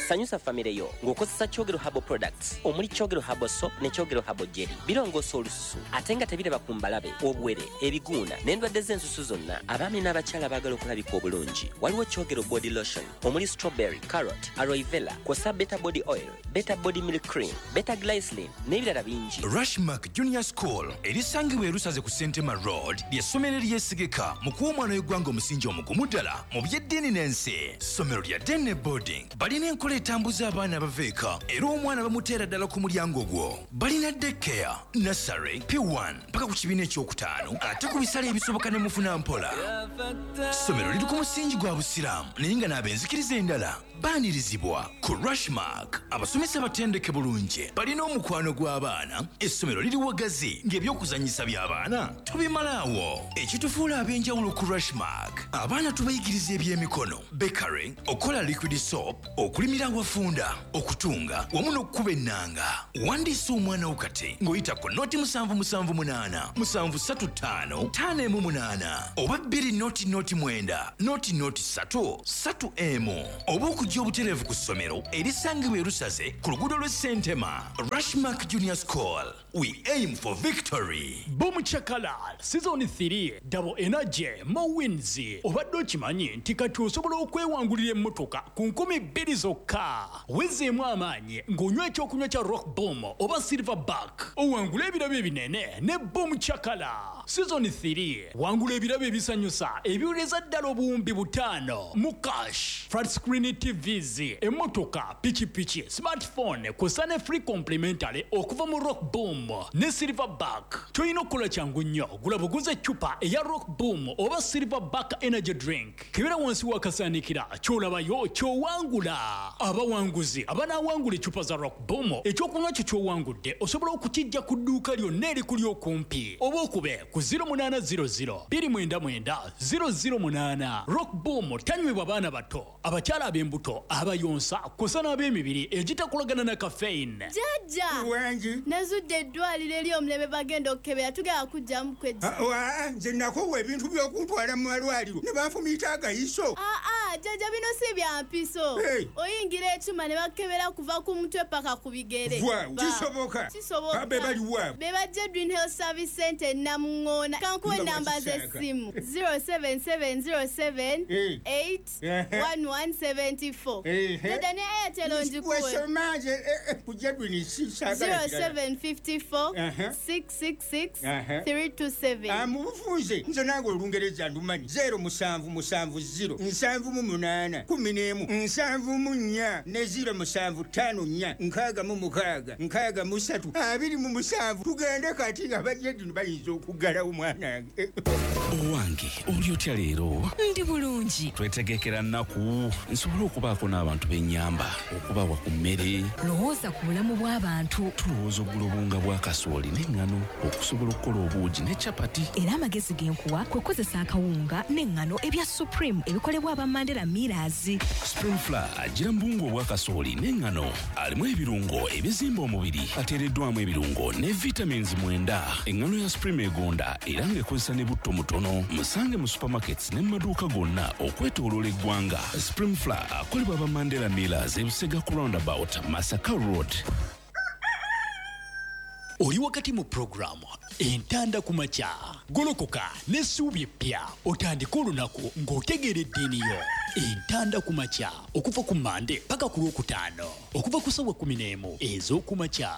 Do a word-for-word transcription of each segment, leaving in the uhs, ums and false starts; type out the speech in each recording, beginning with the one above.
Sanyusa famire yo ng'okozesa Kyogero Herbal Products omuli Kyogero Herbal Soap ne Kyogero Herbal Jelly. Birongoosa olususu ate nga tebiraba ku mbalabe, obuwere, ebiguuna n'endwadde z'ensusu zonna. Abaami n'abakyala baagala okulabika obulungi, waliwo Kyogero Body Lotion omuli strawberry, carrot, aloe vera, kw'ossa Better Body Oil, Better Body Milk Cream, Better Glycerin n'ebirala bingi. Rushmark Junior School erisangibwa erusaze ku Sentema Road ly'essomero eryesigika mu kuwa omwana w'eggwanga omusingi omugumu ddala mu by'eddiini n'ensi. Ssomero lya day boarding, balina enkola etambuza abaana abava eka era omwana bamuteera ddala ku mulyango gwo. Balina daycare, nursery, P one mpaka ku kibiina ekyokutaano, ate ku bisale ebisoboka ne mufuna mpola. Ssomero liri ku musingi gwa busiraamu naye nga n'ab'enzikiriza endala baanirizibwa. Ku Rushmark abasomesa batendeke bulungi, balina omukwano gw'abaana. Essomero liri wagazi ng'ebyokuzannyisa by'abaana tubimalaawo. Ekitufuula ab'enjawulo ku Rushmark, abaana tubayigiriza ebyemikono, bakery, okukola liquid soap, okulimira awafunda, okutunga wamu n'okukuba ennanga. Wandiisa omwana wo kati ng'oyita ku noti musanvu musanvu munaana musanvu ssatu ttaano ttaano emu munaana oba bbiri noti noti mwenda noti noti ssatu ssatu emu oba okujja obutereevu ku ssomero erisangibwa erusaze ku luguudo lw'e Sentema. Rushmark Junior School, we aim for victory. Boom Chakala Season three, double energy, more wins. Obadde okimanyi nti kati osobola okwewangulira emmotoka ku nkumi bbiri zokka? Wezeemu amaanyi ng'onywa ekyokunywa kya Rock Boom oba Silver Back, owangule ebirabo ebinene ne Boom Chakala Season three. Wangula ebirabo ebisanyusa ebiwereza ddala obuwumbi butaano mu cash, flat screen T Vs, emmotoka, pikipiki, smartphone, kw'ossa ne free complimentary okuva mu Rock Boom ne Silver Back. Kyolina okukola kyangu nnyo, gula buguza eccupa eya Rock Boom oba Silver Back energy drink, kebera wansi w'akasaanikira, ky'olabayo ky'owangula. Abawanguzi abanaawangula eccupa za Rock Boom, ekyokunywa kyo ky'owangudde osobola okukijja ku dduuka lyonna erikuli okumpi oba okube ku zero munaana zero zero two nine nine zero zero eight. Rock Boom tanywebwa baana bato, abakyala ab'embuto, abayonsa, kw'ossa n'ab'emibiri egitakolagana na caffeine. Jjajja! Wangi. Nazudde eddwaliro ery'omulembe, bagenda okukebera, tugenda kujjamu kwejja. Ah, nze nakoowa ebintu by'okuntwala mu malwaliro ne banfumiita agayiso. Aa, jjajja, bino si bya mpiso. Hey. Oyingira ekyuma ne bakebera kuva ku mutwe paka ku bigere. Waaw, Ba- kisoboka? Kisoboka. Be baliwa? Be bajja Green Health Service Center e Namuŋŋoona. Kankuwa Nga enamba bwakisaaka. z'essimu: zero seven seven zero seven Eh. eight Ehe. one one seven four. Ehe. Jjajja, ne Airtel onjikuwe. Wesoma nze eh, eh, ku Jedwin sisaagala kirala. zero seven five four Aha. six six six Aha. three two seven. Ah, mu bufunze nze nange olungereza ndumanyi. zero musanvu musanvu zero nsanvu mu munaana kumi n'emu nsanvu mu nnya ne zero musanvu ttaano nnya nkaaga mu mukaaga nkaaga mu ssatu abiri mu musanvu. Tugende kati, abajedini bayinza okuggalawo mwanange. Owange, oli otya leero? Ndi bulungi. Twetegekera nnaku nsobole okubaako n'abantu b'ennyamba okubawa ku mmere. Lowooza ku bulamu bw'abantu. Tulowooza okugula obuwunga bwa kasooli n'eŋŋano okusobola okukola obuugi ne capati. Era amagezi ge nkuwa kwe kukozesa akawunga n'eŋŋano ebya Supreme ebikolebwa aba Mandela Millers. Supreme Flour agira mu buwunga obwa kasooli n'eŋŋano, alimu ebirungo ebizimba omubiri, ateereddwamu ebirungo ne vitamins mwenda. Eŋŋano ya Supreme egonda era ng'ekozesa ne butto mutono. Musange mu supermarkets ne mu maduuka gonna okwetooloola eggwanga. Supreme Flour akolebwa aba Mandela Millers, ebusega ku roundabout, Masaka Road. Oli wakati mu puroguramu Entanda ku Makya. Golokoka n'essuubi eppya, otandike olunaku ng'otegeera eddiini yo. Entanda ku Makya, okuva ku Mande paka ku Lwokutaano, okuva ku ssaawa kumi n'emu ez'okumakya.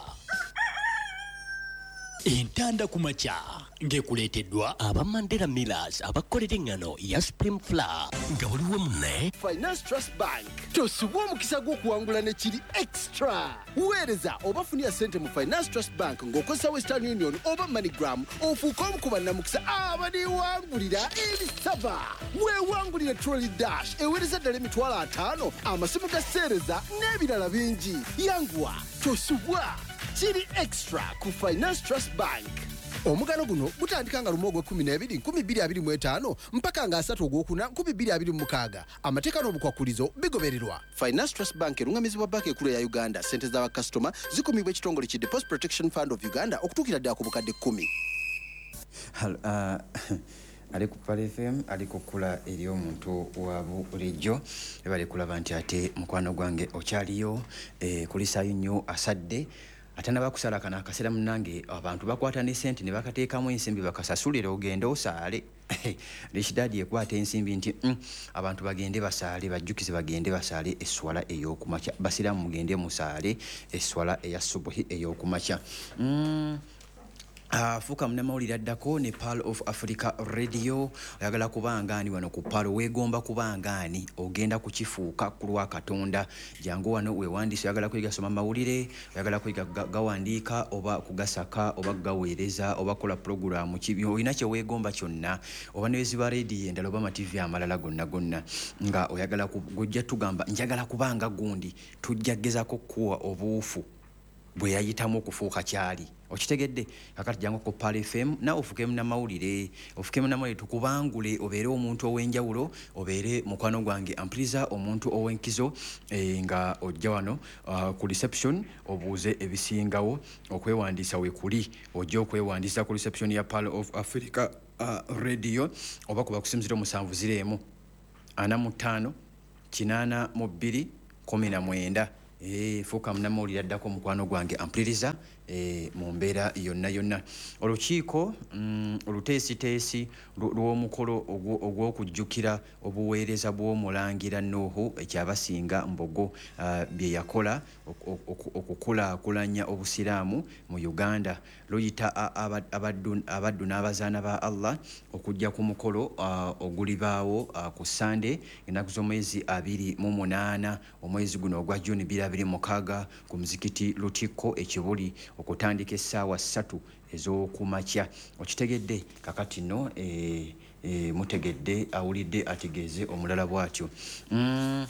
Entanda ku Makya ng'ekuleeteddwa aba Mandela Millers abakolera eŋŋano ya Supreme Flour nga buli wamu. Finance Trust Bank, tosubwa omukisa gw'okuwangula ne kiri extra. Weereza oba funira ssente mu Finance Trust Bank ng'okozesa Western Union oba MoneyGram, ofuuke omu ku bannamukisa abaliwangulira ebisaba. Weewangulire trolley dash eweereza ddala emitwalo ataano, amasimu ga seereza n'ebirala bingi. Yanguwa, tosubwa, kiri extra ku Finance Trust Bank. Omugano guno gutandika nga lumu ogwekumi n'ebiri nkumi bbiri abiri mu etaano mpaka nga asatu ogwokuna nkumi bbiri abiri mu mukaaga. Amateeka n'obukwakulizo bigobererwa. Finance Trust Bank erungamizibwa Banka Ekulu eya Uganda. Ssente z'abakasitoma zikumibwa ekitongole ki Deposit Protection Fund of Uganda okutuukira ddala ku bukadde kkumi. Hello, uh, Ali ku Pearl F M, ali ku kkula ery'omuntu wa bulijjo. Ebale kulaba nti ate mukwano gwange okyaliyo, eh, kulisaayo nnyo asadde atanaba kusala kana akaseera. Munnange, abantu bakwata ne sente ne bakateekamu ensimbi bakasasulira ogende osaale. Rich Daddy ekwata ensimbi nti mm, abantu bagende basaale, bajjukize bagende basaale esswala ey'okumakya. Basiraamu, mugende musaale esswala eya subuhi ey'okumakya. mm. Uh, fuuka munnamawulire addako ne Pearl of Africa Radio. Oyagala kubanga ani wano ku Pearl? Weegomba kubanga ani? Ogenda kukifuuka ku lwa Katonda. Jangu wano weewandiise. Oyagala kuyiga soma mawulire, oyagala kuyiga gawandiika oba kugasaka oba kugaweereza oba kukola pulogulaamu ki, olina kye weegomba kyonna, oba neweziba rediyo endala oba amativi amalala gonna gonna, nga oyagala gojja tugamba njagala kubanga gundi, tujja gezaako kukuwa obuufu bwe yayitamu okufuuka kyali. Okitegedde? Kakati jangu ku Pearl F M naawe ofuuke munnamawulire, ofuuke munnamawulire, tukubangule, obeere omuntu ow'enjawulo, obeere mukwano gwange ampuliriza, omuntu ow'enkizo. e, nga ojja wano uh, ku reception obuuze ebisingawo. Okwewandiisa weekuli, ojja okwewandiisa ku reception ya Pearl of Africa uh, Radio oba kuba ku simu ziro musanvu ziro emu ana mu ttaano kinaana mu bbiri kumi na mwenda. E, fuuka munnamawulire addako, mukwano gwange ampuliriza, e, mu mbeera yonna yonna. Olukiiko mm, oluteesiteesi lw'omukolo ogw'okujjukira obuweereza bw'omulangira Nuuhu Ekyabasinga Mbogo, uh, bye yakola okukulaakulanya obusiraamu mu Uganda, luyita abaddu n'abazaana ba Allah okujja ku mukolo uh, ogulibaawo uh, ku Sande, ennaku z'omwezi abiri mu munaana omwezi guno ogwa Juni bbiri abiri mukaaga ku muzikiti Lutikko Ekibuli, okutandika essaawa ssatu ez'okumakya. Okitegedde? Kakati nno e, e, mutegedde, awulidde ategeeze omulala bw'atyo. mm.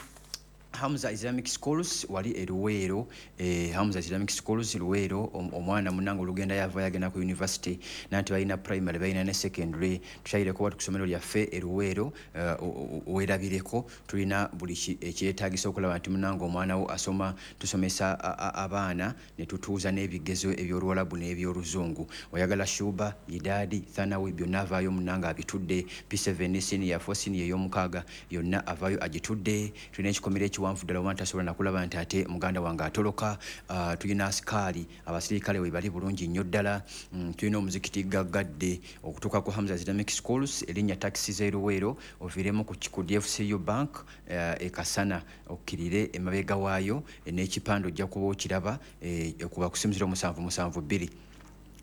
Hamza Islamic Schools wali e Luweero, eh, Hamza Islamic Schools Luweero, omwana munange olugenda yava yagenda ku university, nanti balina primary, balina ne secondary. Tukyayireko watu ku ssomero lyaffe e Luweero, uh, weerabireko tulina buli ekyetaagisa okulaba nti munange omwana wo asoma. Tusomesa abaana ne tutuuza n'ebigezo eby'Oluwalabu n'eby'Oluzungu. Oyagala Shuba, Idadi, Thanawi, byonna avaayo munange abitudde. P seven, senior four, senior ey'omukaaga, yonna avaayo agitudde. Tulina ekikomera ekiwanvu ddala, oba ntasobola nakulaba nti ate muganda wange atoloka. uh, tulina asikaali, abasirikale we bali bulungi nnyo ddala. mm, tulina omuzikiti gaggadde. Okutuuka ku Hamza Islamic Schools, erinnya takisi z'eruweero, oviiremu ku D F C U Bank uh, ekasana, okkirire emabega waayo n'ekipande ojja kuba okiraba. eh, kuba ku simu ziro musanvu musanvu bbiri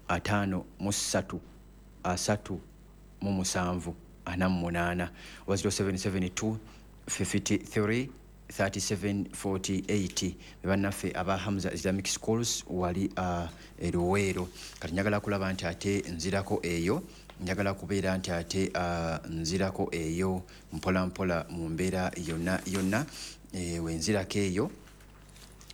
ataano mu ssatu asatu mu musanvu ana mu munaana oba ziro seven seven two fifty-three thirty-seven forty-eight. Bannaffe aba Hamza Islamic Schools wali uh, eruweero. Kati njagala kulaba nti ate nzirako eyo, njagala kubeera nti ate uh, nzirako eyo mpola mpola mu mbeera yonna yonna. e, wenzirako eyo.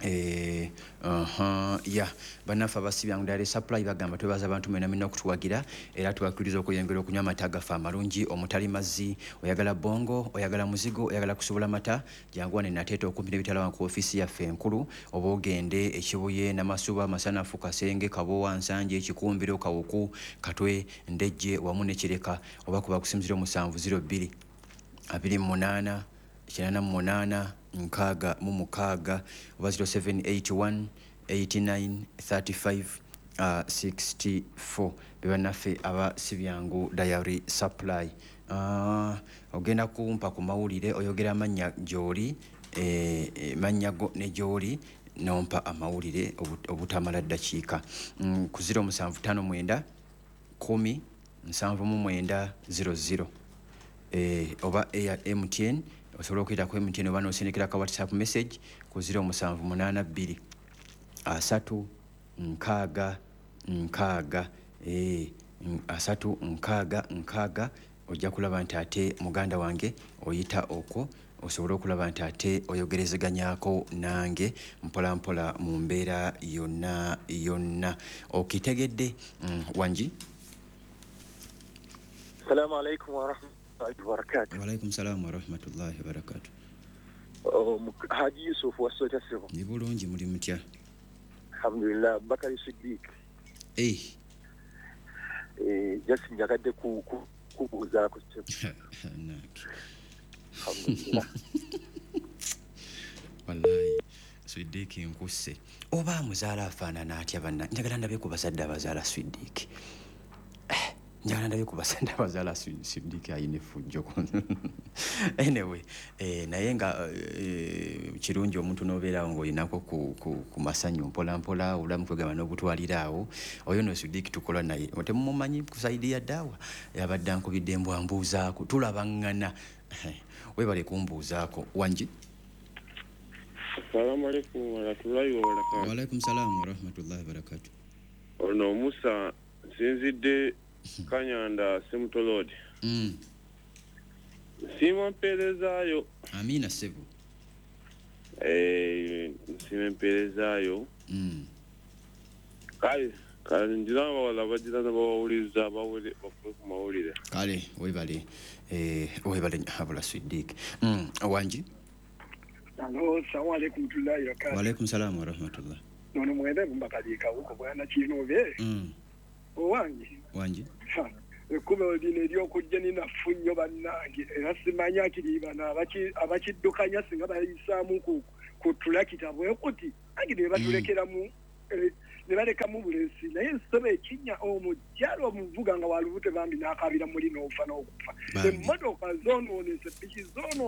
Eh, uh-huh, ya bannaffe abasibyangu Dairy Supply bagamba twebaza abantu mwena mwena okutuwagira, era tubakkiriza okuyongera okunywa amata gaffe amalungi omutali mazzi. Oyagala bongo, oyagala muzigo, oyagala kusobola mata, jangu wano Nateete okumpi n'ebitala ku ofiisi yaffe enkulu, oba ogende Ekibuye, Namasuba, Masanafu, Kasenge, Kabowa, Nsanje, Ekikumbiro, Kawuku, Katwe, Ndejje wamu ne Kireka, oba kuba ku simu ziro musanvu ziro bbiri abiri mu munaana kinaana mu munaana nkaaga mu mukaaga oba ziro seven eight one eighty-nine thirty-five uh, sixty-four. Be bannaffe aba Sibyangu Dairy Supply. uh, ogenda kumpa ku mawulire, oyogera amannya gy'oli, eh, eh, mannya go ne gy'oli, nompa amawulire obutamala ddakiika mm, ku ziro musanvu ttaano mwenda kumi nsanvu mu mwenda ziro ziro, eh, oba eya M T N, osobola okuyita ku M T N oba n'osindikira ka WhatsApp message ku ziro musanvu munaana bbiri asatu nkaaga nkaaga, eh, asatu nkaaga nkaaga. Ojja kulaba nti ate muganda wange oyita okwo osobole okulaba nti ate oyogerezeganyako nange mpola mpola mu mbeera yonna yonna. Okitegedde? mm, wangi Assalamu alaikum warahmatullahi wabarakatuh. Waalaikum salaamu warahmatullahi wabarakatuh. Haji Yusuf, wasota sebo? Ni bulungi, muli mutya? Alhamdulillah, Bakari Siddiq. Eh. Eh, just njagadde ku Kubuuzaako ssebo. Alhamdulillah. Wallahi Swidiki nkusse. Oba amuzaala afaanana atya banna? Njagala ndabe ku bazadde abazaala Swidiki. Eh, njagala ndabe ku bazadde abazaala Swidiki ayina effujjo. Anyway, eh, naye nga eh, kirungi omuntu n'obeerawo ng'olinako ku, ku, ku masanyu mpola mpola, obulamu kwegamba n'obutwalira awo. Oyo no Swidiki tukola naye. Temumumanyi ku saidi ya daawa. Yabadde ankubidde mbwa mbuuzaako. Tulabaŋŋana. Weebale kumbuuzaako. Wangi? Assalamu alaikum warahmatullahi wabarakatuh. Wa alaikum salam warahmatullahi wabarakatuh. Ono Musa nsinzidde Kanyanda Semutolodi. Mm. Nsiima mpeerezaayo. Amina ssebo. Eh, nsiima mpeerezaayo. Mm. Kale, kale ngira abawala bagira n'abawuliriza bawulire bakule ku mawulire. Kale, weebale. Eh, weebale habula Swidiki. Mm, wangi? Alo, assalamu alaikum warahmatullahi wabarakatuh. Wa alaikum salam warahmatullah. Nono mwende mbakalika huko bwana Kinove. Mm. Owange. Wangi. Ekkubo lino ery'okujja ninafu nnyo bannange era simanyi akiri bano abakiddukanya singa bayisaamu ku ku tulakita bwe kuti angi ne batulekeramu ne balekamu bulesi naye nsebe ekinnya omukyalo omuvuga nga walubuto bambi n'akaabira muli n'ofa n'okufa. Emmotoka zoonoonese, piki zoonoonese.